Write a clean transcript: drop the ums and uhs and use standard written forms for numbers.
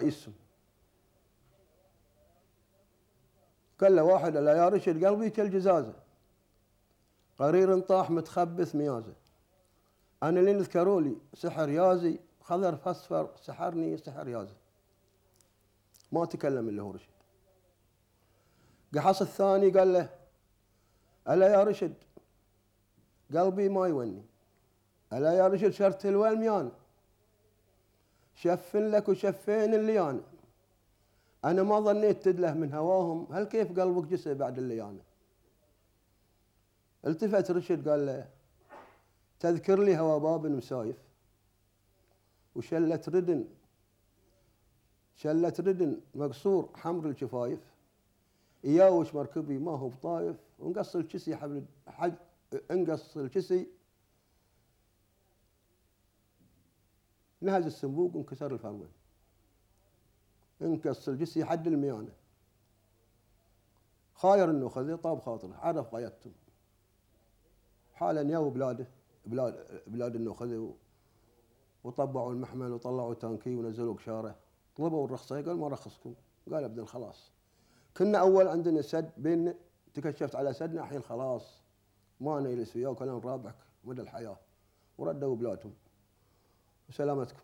رئيسهم. قال له واحد: ألا يا رشد قلبي كالجزازة، قرير طاح متخبث ميازة، أنا اللي يذكروا لي سحر يازي، خضر فاصفر سحرني سحر يازي. ما تكلم اللي هو رشد. قحص الثاني قال له: ألا يا رشد قلبي ما يوني، ألا يا رشد شرت الولميان، شفن لك وشفين الليانة، أنا ما ظنيت تدله من هواهم، هل كيف قلبك جسى بعد الليانة. التفت رشد قال له: تذكر لي هوا باب مسايف، وشلت ردن مقصور حمر الشفايف، ياوش مركبي ما هو بطايف، انقص الكسي انقص الكسي نهز السنبوق وانكسر الفرمل، انقص الجسي حد الميانة، خاير النخذ طاب خاطره عرف غايتهم. حالا ياو بلاد النخذ وطبعوا المحمل وطلعوا تانكي ونزلوا قشاره، طلبوا الرخصة، قال ما رخصكم، قال ابدا خلاص، كنا أول عندنا سد بين تكشفت على سدنا، الحين خلاص ما نجلس وياك ولا نرابحك مدى الحياة، وردوا بلادهم وسلامتكم.